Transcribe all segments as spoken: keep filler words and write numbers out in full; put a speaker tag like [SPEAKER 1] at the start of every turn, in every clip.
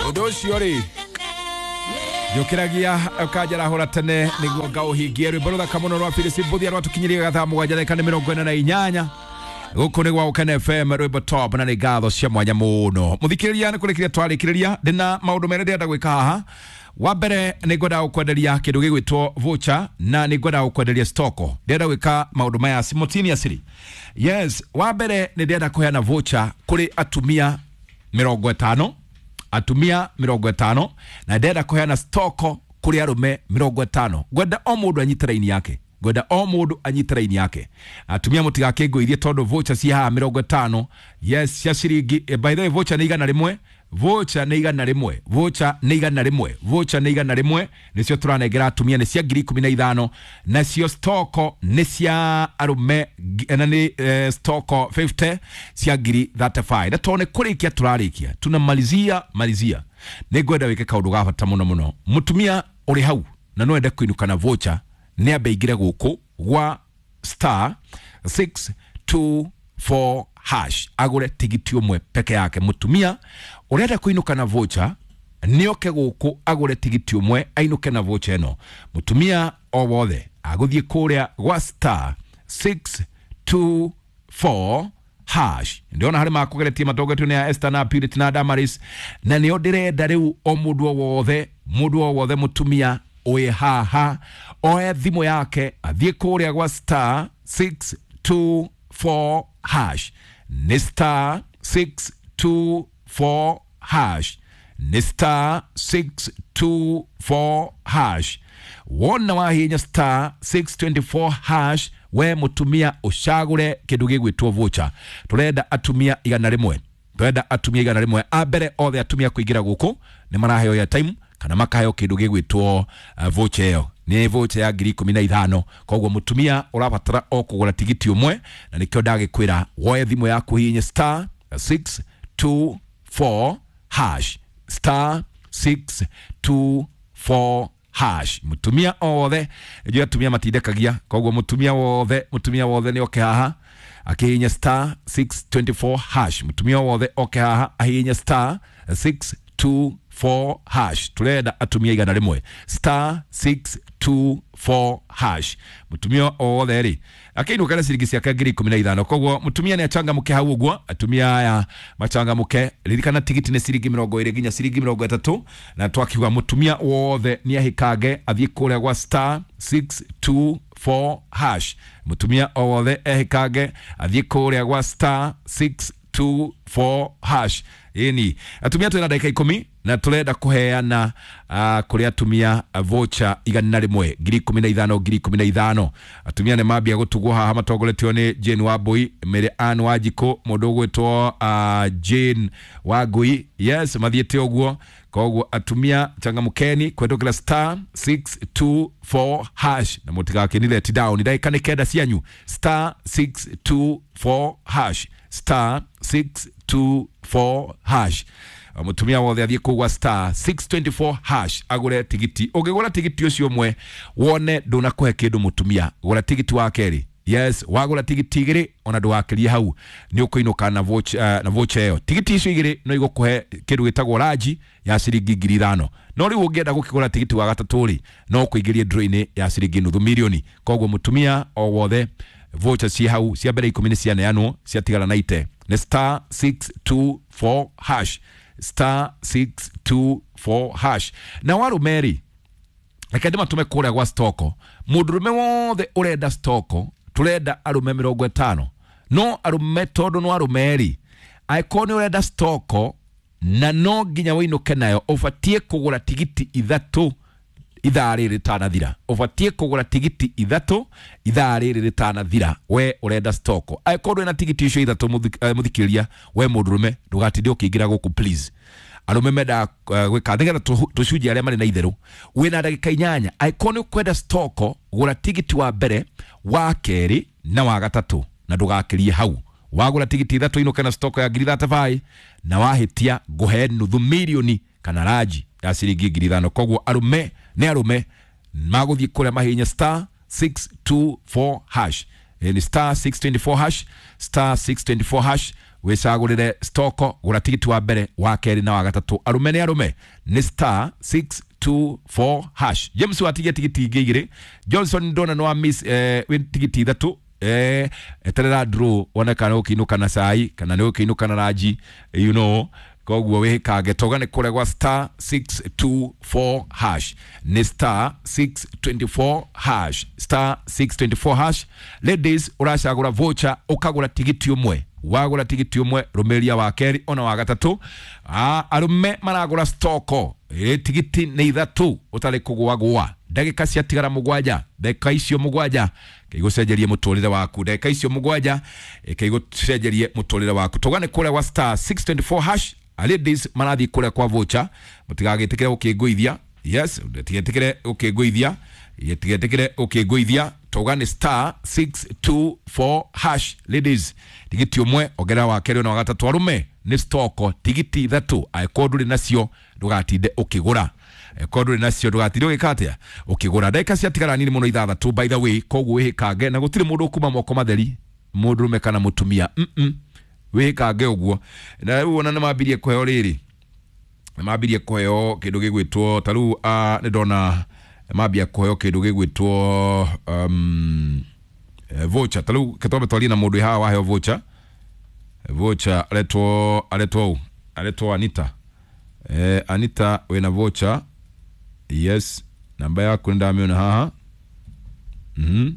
[SPEAKER 1] Ũndũ ũcio rĩ njũkĩragia ũkanjarahũra tene nĩguo ngaũhingie. Rwĩmbo rũthaka mũno rwa Phyllis Mbuthia rwatũkinyĩria gathaa mũgwanja ndagĩka nĩ mĩrongo ĩna na inyanya. Gũkũ nĩ gwa Gũkena F M, rwĩmbo top, na nĩ ngatho cia mwanya mũno. Mũthikĩrĩria, nĩ kũrĩkĩria twarĩkĩrĩria, ndĩna maũndũ merĩ ndĩrenda gwĩka haha. Wa mbere nĩ ngwendaga gũkwenderia kĩndũ gĩgwĩtwo voucher, na nĩ ngwendaga gũkwenderia stoko. Ndĩrenda gwĩka maũndũ maya simultaneously. Yes, wa mbere nĩ ndĩrenda kũheana voucher kũrĩ atumia mĩrongo ĩtano, atumia mĩrongo ĩtano, na ndĩrenda kũheana stoko kũrĩ arũme mĩrongo ĩtano. Ngwenda o mũndũ anyite raini yake, ngwenda o mũndũ anyite raini yake. Atumia mũtigakĩngũithie tondũ voucher ci haha mĩrongo ĩtano, yes, cia ciringi. eh, by the way, voucher nĩ igana rĩmwe, voucher nĩ igana rĩmwe, voucher nĩ igana rĩmwe, voucher nĩ igana rĩmwe, nĩcio tũranengera atumia, nĩ cia ngiri ikũmi na ithano, nacio stoko nĩ cia arũme, na nĩ eh, stoko fifty cia ngiri thirty five. Na tondũ nĩ kũrĩkia tũrarĩkia, tunamalizia malizia, nĩ ngwenda wĩke kaũndũ ga bata mũno mũno. Mũtumia ũrĩ hau na no ende kũinũka na voucher, nĩ ambe aingĩre gũkũ gwa star six two four hash agũre tigiti ũmwe peke yake. Mũtumia ũrenda kũinũka na voucher nĩ oke gũkũ agũre tigiti ũmwe ainũke na voucher ĩno. Mũtumia o wothe agũthiĩ kũrĩa gwa star six two four hash. Ndĩrona harĩ makũgeretie matongoretio nĩ a Esther na Purity na Damaris, na nĩo ndĩrenda rĩu o mũndũ o wothe, mũndũ o wothe mũtumia wĩ haha oe thimũ yake athiĩ kũrĩa gwa star six two four hash. Nĩ star six two four hash, nĩ star six two four hash. Wona wahinya star six twenty four hash, we mũtumia ũcagũre kĩndũ gĩgwĩtwo voucher. Tũrenda atumia igana rĩmwe, tũrenda atumia igana rĩmwe. A mbere othe atumia kũingĩra gũkũ nĩ maraheo airtime kana makaheo kĩndũ gĩgwĩtwo, uh, voucher ĩyo. Nĩ voucher ya ngiri ikũmi na ithano. Koguo mũtumia ũrabatara o kũgũra tigiti ũmwe, na nĩkĩo ndagĩkwĩra woe thimũ yaku hihinye star six two four hash, star six two four hash. Mũtumia othe, njũĩ atumia matindekagia, koguo mũtumia wothe, mũtumia wothe nĩ oke haha akĩhihinya star six twenty four hash. Mũtumia wothe oke haha ahihinye star six two four hash. Tũrenda atumia igana rĩmwe, star six two four hash. Mũtumia wothe rĩ akĩinũka na ciringi ciake ngiri ikũmi na ithano. Koguo mũtumia nĩ achangamũke hau ũguo, atumia aya machangamũke. Ririkana tigiti nĩ ciringi mĩrongo ĩrĩ nginya ciringi mĩrongo ĩtatũ, na twakiuga mũtumia wothe nĩ ahĩkange athiĩ kũrĩa gwa star six two four hash. Mũtumia o wothe ehĩkange athiĩ kũrĩa gwa star six two four hash. Ĩni atumia twĩna ndagĩka ikũmi na tũrenda kũheana, uh, kũrĩ atumia voucher igana rĩmwe ngiri ikũmi na ithano, ngiri ikũmi na ithano. Atumia nĩ mambia gũtugwo haha matongoretio nĩ Jane Wambui, Mary Ann Wanjikũ, mũndũ ũgwĩtwo, uh, Jane Wangui. Yes, mathiĩte ũguo. Koguo atumia changamkeni kũhetũkĩra star six two four hash, na mũtigakĩni let down. Ndagĩka nĩ kenda cianyu, star six two four hash, star six two four hash. Mũtumia wothe athiĩ kũu gwa star six twenty four hash agũre tigiti. Ũngĩgũra tigiti ũcio ũmwe wone ndũnakũhe kĩndũ mũtumia, gũra tigiti wa kerĩ. Yes, wagũra tigiti igĩrĩ ona ndũgakĩrie hau, nĩ ũkũinũka na voucher, uh, na voucher ĩyo. Tigiti icio igĩrĩ no igũkũhe kĩndũ gĩtagwo ranji ya ciringi ngiri ithano. No rĩu ũngĩenda gũkĩgũra tigiti wa gatatũ rĩ, no ũkũingĩrie draw-inĩ ya ciringi nuthu mirioni. Koguo mũtumia o wothe voucher ci hau cia mbere ikũmi nĩ cianeanwo, ciatigara na ite. Nĩ star six two four hash, star six two four hash. Na warũme rĩ, reke ndĩmatũme kũrĩa gwa stoko. Mũndũrũme wothe ũrenda stoko, tũrenda arũme mĩrongo ĩtano. No arũme tondũ no arũme rĩ, angĩkorwo nĩ ũrenda stoko na no nginya wĩinũke nayo, ũbatiĩ kũgũra tigiti ithatũ ithaa rĩrĩ rĩtanathira. Ũbatiĩ kũgũra tigiti ithatũ ithaa rĩrĩ rĩtanathira, we ũrenda stoko. Angĩkorwo ndũrĩ na tigiti icio ithatũ, mũthik-, eh, mũthikĩrĩria, we mũndũrũme ndũgatinde ũkĩingĩra gũkũ please. Arũme mendaga, eh, gwĩka nĩgetha tũ-, tũcunjie arĩa marĩ na itherũ. Wĩna ndagĩka inyanya. Angĩkorwo nĩ ũkwenda stoko, gũra tigiti wa mbere, wa kerĩ na wa gatatũ, na ndũgakĩrie hau. Wagũra tigiti ithatũ inũke na stoko ya ngiri thate baĩ, na wahĩtia ngũhe nuthu mirioni kana ranji ya ciringi ngiri ithano. Koguo arũme nĩ arũme magũthiĩ kũrĩa mahihinye star six two four hash. Ni star six twenty four hash, star six twenty four hash. Wicagurire stoko, gura tigiti wa mbere, wa keri na wa gatatu. Arume ni arume ni star six two four hash. James watigie tigiti ingĩ igĩrĩ. Johnson ndona no miss eh, wĩ tigiti ithatu. Eh, eterera draw wone kana ũkĩinũka na cai kana nĩ ũkĩinũka na ranji, you know koguo wĩhĩkange toga nĩ kũrĩa gwa star six two four hash, nĩ star six twenty four hash, star six twenty four hash. Ladies, ũracagũra voucher ũkagũra tigiti ũmwe, wagũra tigiti ũmwe rũmĩria wa kerĩ ona wa gatatũ. Ah, arũme maragũra stoko ĩ tigiti nĩ ithatũ ũtarĩ kũgũagũa. Ndagĩka ciatigara mũgwanja, ndagĩka icio mũgwanja kĩigũcenjerie mũtũrĩre waku, ndagĩka icio mũgwanja kĩigũcenjerie mũtũrĩre waku. Toga nĩ kũrĩa gwa star six twenty four hash. Ladies marathiĩ kũrĩa kwa voucher, mũtigagĩtĩkĩre gũkĩngũithia. Yes, mũtigetĩkĩre gũkĩngũithia, mũtigetĩkĩre gũkĩngũithia. Toga nĩ star six two four hash. Ladies, tigiti ũmwe ongerera wa kerĩ na wa gatatũ. Arũme nĩ stoko tigiti ithatũ, angĩkorwo ndũrĩ nacio ndũgatinde ũkĩgũra, angĩkorwo ndũrĩ nacio ndũgatinde ũgĩka atĩa ũkĩgũra. Ndagĩka ciatigara nini mũno ithathatũ, by the way, koguo wĩhĩkange na gũtirĩ mũndũ ũkuma moko matheri, mũndũrũme kana mũtumia. mm -mm. Wĩhĩkange ũguo. Na rĩu ona nĩ mambirie kũheo rĩrĩ, nĩ mambirie kũheo kĩndũ gĩgwĩtwo ta rĩu uh, nĩ ndona mambia kũheo kĩndũ gĩgwĩtwo um, voucher. Ta rĩu ketwambe twarie na mũndũ haha waheo voucher. Voucher aretwo aretwo ũ? Aretwo Anita. Eh, Anita wĩna voucher. Yes, namba yaku nĩ ndamĩona haha. Mhm.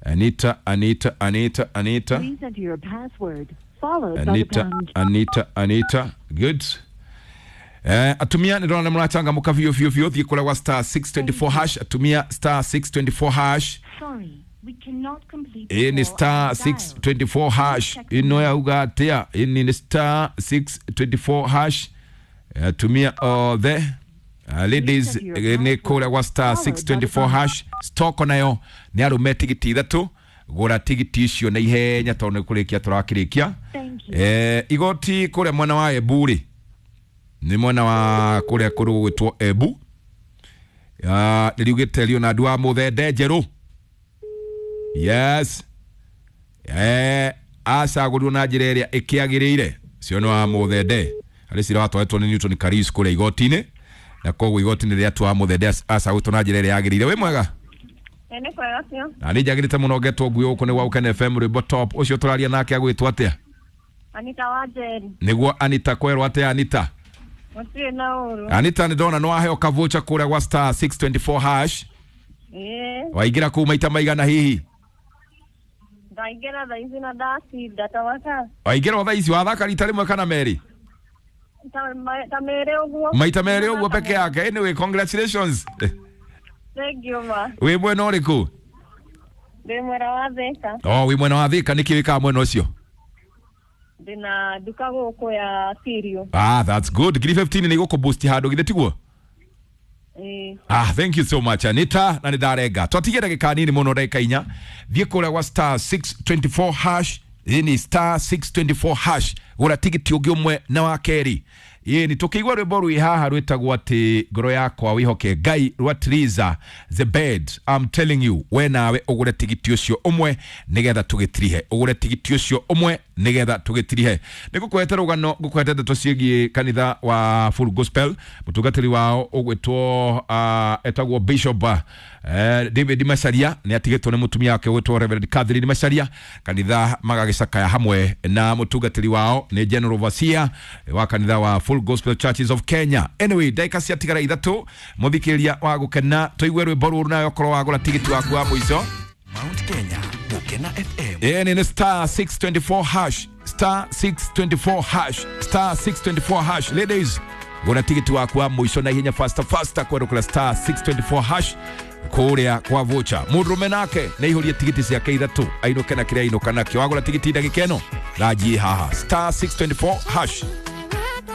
[SPEAKER 1] Anita, Anita, Anita, Anita.
[SPEAKER 2] Please enter your password followed by the
[SPEAKER 1] Anita,
[SPEAKER 2] pound.
[SPEAKER 1] Anita, Anita. Good. Eh, atumia nĩ ndona nĩ mũrachangamũka biũ biũ biũ. Thiĩ kũrĩa gwa star six twenty four hash. Atumia star six twenty four hash.
[SPEAKER 3] Sorry, we cannot complete the
[SPEAKER 1] Ĩ nĩ
[SPEAKER 3] call
[SPEAKER 1] star
[SPEAKER 3] as
[SPEAKER 1] six
[SPEAKER 3] dialed.
[SPEAKER 1] twenty four hash. Ĩno yauga atĩa? Ĩni nĩ star six twenty four hash. Atumia othe. Uh, ladies, eh, nĩ kũrĩa gwa star six twenty four hash. Stoko nayo nĩ arũme tigiti ithatũ. Gũra tigiti icio na ihenya tondũ nĩ kũrĩkia tũrakĩrĩkia.
[SPEAKER 3] Thank you.
[SPEAKER 1] Eh, igoti kũrĩa mwena wa Embu rĩ, nĩ mwena wa kũrĩa kũrũ gũgwĩtwo Embu. Ah, nĩ riugĩte Leonard wa Mũthende Njerũ. Yes. Eh, acagũrirwo na njĩra ĩrĩa ĩkĩagĩrĩire. Cio nĩ wa Mũthende. Harĩ cira watwaretwo nĩ Newton Karis kũrĩa igoti-inĩ, na koguo igoti-inĩ rĩatua wa Mũthende acagũrĩtwo na njĩra ĩrĩa yagĩrĩire. Wĩ mwega?
[SPEAKER 4] Nĩ kwega biũ.
[SPEAKER 1] Na nĩ njagĩrĩte mũno ngetwo ngui gũkũ nĩ gwa Gũkena F M rwĩmbo top. Ũcio tũraria nake agwĩtwo atĩa?
[SPEAKER 4] Anita wa Njeri.
[SPEAKER 1] Nĩguo Anita, kwerwo atĩa Anita?
[SPEAKER 4] Gũtirĩ na ũru.
[SPEAKER 1] Anita nĩ ndona nĩ waheo kavoucher kũrĩa gwa star six twenty four hash.
[SPEAKER 4] Ĩĩ,
[SPEAKER 1] Waingĩra kũu maita maigana hihi?
[SPEAKER 4] ndaingĩra thaa ici na ndacinda ta mathaa
[SPEAKER 1] Waingĩra o thaa ici, wathaka rita rĩmwe kana merĩ?
[SPEAKER 4] ta ma- ta merĩ ũguo.
[SPEAKER 1] Maita merĩ ũguo peke yake. Anyway, congratulations.
[SPEAKER 4] Thank you ma.
[SPEAKER 1] Wĩ mwena ũrĩkũ?
[SPEAKER 4] Ndĩ mwena wa Thĩka.
[SPEAKER 1] Oh, wĩ mwena wa Thĩka. Nĩkĩ wĩkaga mwena ũcio?
[SPEAKER 4] Ndĩna nduka gũkũ ya cereal.
[SPEAKER 1] Ah, that's good. Ngiri fifteen nĩ igũkũ boost handũ githĩ tiguo?
[SPEAKER 4] Ĩĩ.
[SPEAKER 1] Ah, thank you so much Anita, na nĩ ndarenga. Twatigie ndagĩka nini mũno, ndagĩka inya. Thiĩ kũrĩa gwa star six twenty four hash. Ĩ ni star six twenty four hash. Gũra tigiti ũngĩ ũmwe na wa kerĩ. Ĩ ni tũkĩigua rwĩmbo rwĩ haha rwĩtagwo atĩ ngoro yakwa wĩhoke Ngai rwa Triza the bed. I'm telling you, we nawe ũgũre tigiti ũcio ũmwe nĩgetha tũgĩtirihe. Ũgũre tigiti ũcio ũmwe nĩgetha tũgĩtirihe. Nĩ ngũkũhete rũgano, ngũkũhete ndeto ciĩgiĩ kanitha wa Full Gospel. Mũtungatĩri wao ũgwĩtwo, uh, etagwo Bishop, uh, David Macharia, nĩ atigĩtwo nĩ mũtumia wake ũgwĩtwo Reverend Catherine Macharia. Kanitha magagĩcakaya hamwe na mũtungatĩri wao nĩ General Overseer wa kanitha wa Full Gospel Churches of Kenya. Anyway, ndagĩka ciatigara ithatũ, mũthikĩrĩria wa gũkena, tũigue rwĩmbo rũrũ nawe okorwo wagũra tigiti waku wa mũico.
[SPEAKER 5] Mount Kenya, Gũkena F M.
[SPEAKER 1] Ĩĩ nĩ star six twenty four hash, star six twenty four hash, star six twenty four hash. Ladies, gũra tigiti waku wa mũico na ihenya faster faster kwerũkũra star six twenty four hash kũrĩa kwa voucher. Mũndũrũme nake nĩ aihũrie tigiti ciake ithatũ ainũke na kĩrĩa ainũka nakĩo. Wagũra tigiti ndagĩka ĩno ranji haha star six twenty four hash.